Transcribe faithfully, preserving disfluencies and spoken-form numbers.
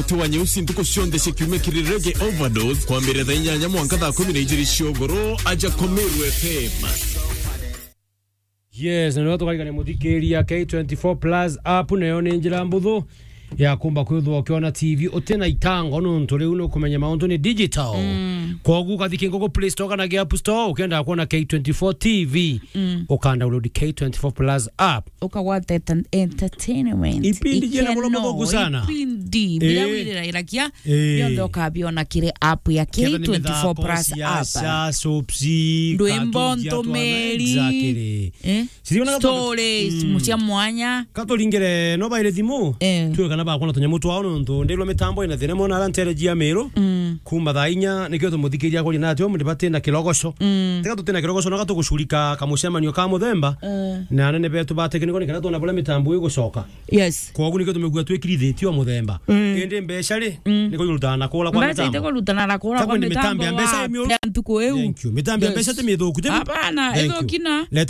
Muti wa nyeusi ntuku cionthe cia kiumia kiri Reggae Overdose, kwambiriria thaa inyanya mwanka thaa kumi na ijiri cia ugoro, aja Komeru F M. Yes, na nio tukarigania muthikiria K twenty-four Plus app, nayo ni njira mbuthu ya kumba kwithwa ukiona T V uti na itango, nontu riu nukumenya mauntu ni digital. Mm. Kwogu ukathi kingo ku Play Store kana ki App Store, ukienda kuona K twenty-four T V, mm, uka download K twenty-four Plus app. Ukagwata ent-, entertainment. Ipindi jena muno ikeno, muthongu sana. Ipindi, bila, eh, wirirairakia, eh, yonthe ukabiona kiri app ya Kenda ni K twenty-four mithako, Plus siasa, app. Soaps, ndwimbo, cartoons cia twana, ntumiri. Exactly. Eh? Siriona katu-, stories, mm, mucia mwanya. Katuringire no baire thimu. Eh. Tuwe kana bakona tunyamu twao nontu ndirwa mitambo ina thina mona ara ntere jia Meru. Mm. Kuma thaa inya nikio tumuthikiria kuri natio, mutibati na kirogoco. Mm. Tiga tutina kirogoco, na gatugucurika kamucemanio ka muthemba. Eh. Na anene betu ba tekniko ni kana tuona buria mitambo igucoka. Yes. Kwogu nikio tumigua twikirithitie o muthemba. Mm. Indi mbeca ri, mm, niko irutaga na kura kwa mitambo. Mbeca itikurutana na kura kwa mitambo ya mbeca wa imi uru. Ya ntuku iu. Thank you. Mitambo ya mbeca ti mithuku, ti mi-, hapana, thank you. Ithukina. Leta